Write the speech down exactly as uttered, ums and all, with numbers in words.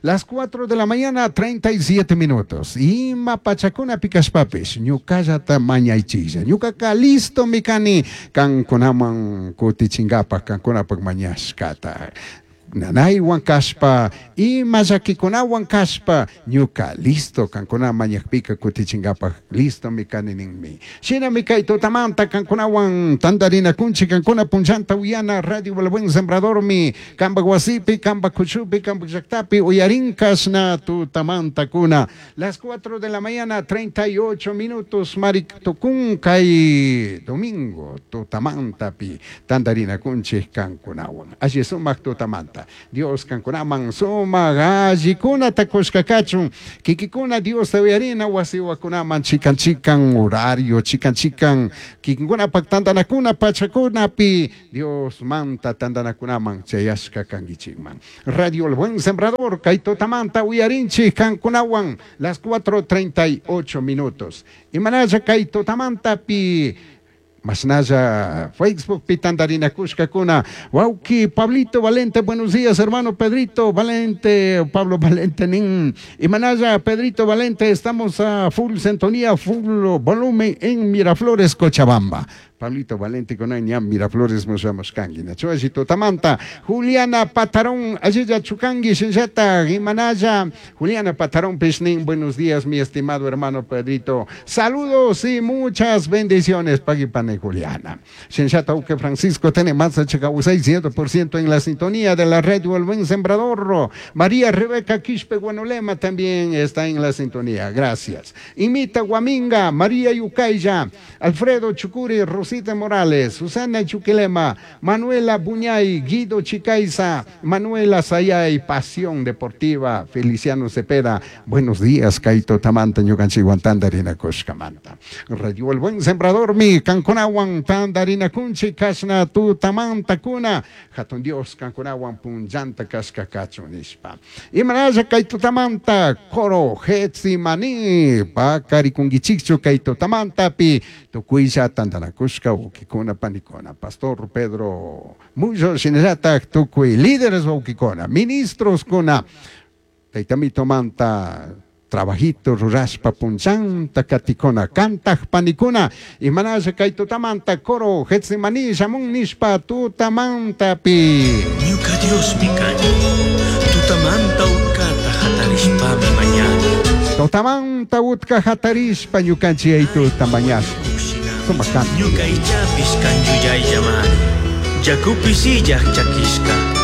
Las cuatro de la mañana, treinta y siete minutos. Ima pachakunapi kashpapish, ñukallata mañaychilla. Ñukaka listo mi kani kankunaman kutichinkapak kankunapak mañashkata. Nanaywan kashpa, ima llakikunawan kashpa, ñuka listo kankuna mañakpika kutichinkapak listo mi kani ninmi. Shinami kay tutamanta kankunawan tantarinakunchik kankuna punchanta uyana Radio El Buen Sembradormi kampak wasipi, kampak kuchupi, kampak llaktapi uyarinkashna tutamanta kuna. Las cuatro de la mañana, treinta y ocho minutos, marik tukun kay domingo tutamantapi tantarinakunchik kankunawan. Alli sumak tutamanta. Dios kankunaman sumak allikunata kushka kachun. Kikikuna Dios uyarina wasiwakunaman chikan chikan horario, chikan chikan kikinkunapak tantanakuna pachakunapi Dios manta tantanakunaman chayashka kankichikman. Radio El Buen Sembrador, kay tutamanta uyarinchik kankunawan las cuatro treinta y ocho minutos. Imanalla kay tutamantapi masnalla Facebook pi tantarinakushkakuna. Wauki Pablito Valente, buenos días, hermano Pedrito Valente, Pablo Valente nin. Imanalla Pedrito Valente, estamos a full sintonía, full volumen en Miraflores, Cochabamba. Pablito Valente con ña Miraflores musamos kangi. Nachuashi tutamanta. Juliana Patarón, allilla chukangi shinllata, Imanalla. Juliana Patarón Pishnin, buenos días, mi estimado hermano Pedrito. Saludos y muchas bendiciones, pagui pane Juliana. Shinllata uke Francisco tiene más ciento por ciento en la sintonía de la red El Buen Sembrador. María Rebeca Quispe Guanolema también está en la sintonía. Gracias. Imita Guaminga, María Yucaya, Alfredo Chucuri, Rosita Morales, Susana Chuquilema, Manuela Buñay, Guido Chicaiza, Manuela Sayay, Pasión Deportiva, Feliciano Cepeda. Buenos días, kay tutamanta, ñukanchikwan tantarinakushkamanta. Radio El Buen Sembrador, mi kankunawan tantarinakunchik, kashna tutamanta kuna, hatun Dios kankunawan punllanta kashka kachun nishpa. Imanalla kay tutamanta, coro Getsimani, pakarikunkichikchu kay tutamantapi, tukuylla tantanakushka wawkikuna panikuna, Pastor Pedro Muyo shinallatak tukuy líderes wawkikuna, ministros kuna, taytamito manta trabajito rurashpa punchanta katikuna, kantaj panikuna, imanalla kay tutamanta coro Getsimani shamun nishpa tutamantapi. Ñuca Diosmi kani. Tutamanta utkata hatarishpami mañani. Tutamanta utka hatarishpa ñukanchik aytuta mañashpa. Sumak kanto. Ñuca ichapish kan yuyaillamari. Yakupi sillaj chakishka.